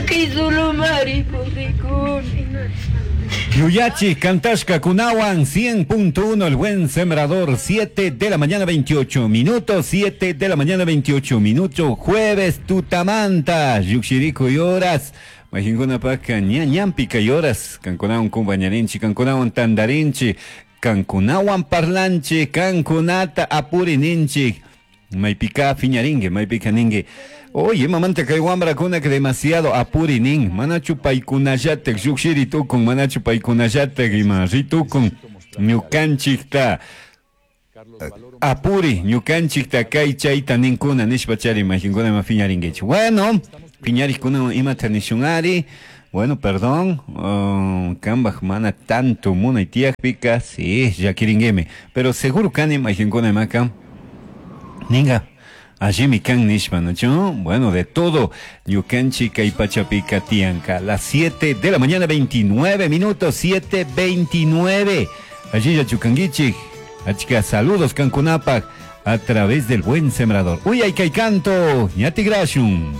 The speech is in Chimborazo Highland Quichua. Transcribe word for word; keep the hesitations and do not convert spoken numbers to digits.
Llaki zulumari purikuni. Yuyachi Cantashka Kunawan cien punto uno, El Buen Sembrador, siete de la mañana veintiocho minutos, siete de la mañana veintiocho minutos, jueves tutamanta, llujshiricuy horas, Majinkunapaka ña ñampi kay horas, kankunawan kumpañarinchi, kankunawan tandarinchi, kankunawan parlanchi, kankunata apurininchi. Maypika piñaringue, maypika ningue: "Oye, mamanta kay wamrakuna que demasiado apurinin, manachu paykunallatak llukshiri tukun, manachu paykunallatak ima ritukun, ñukanchikta apuri, ñukanchikta kay chayta ninkuna" nishpa chari majinkuna ima piñaringuichi. Bueno, piñarikuna imata nishunari. Bueno, perdón, uh, kambaj mana tanto munay tiyakpika, sí, llakiringuimi. Pero seguro kani majinkuna imaka ninga allimi kan nishpa, ¿no? Bueno, de todo, ñukanchik kay pachapika tiyanka. Las siete de la mañana veintinueve minutos, siete veintinueve. Allí ya chukanguichik. Achka saludos kankunapak a través del Buen Sembrador. Uy, ay, kay canto, ñatigrashun.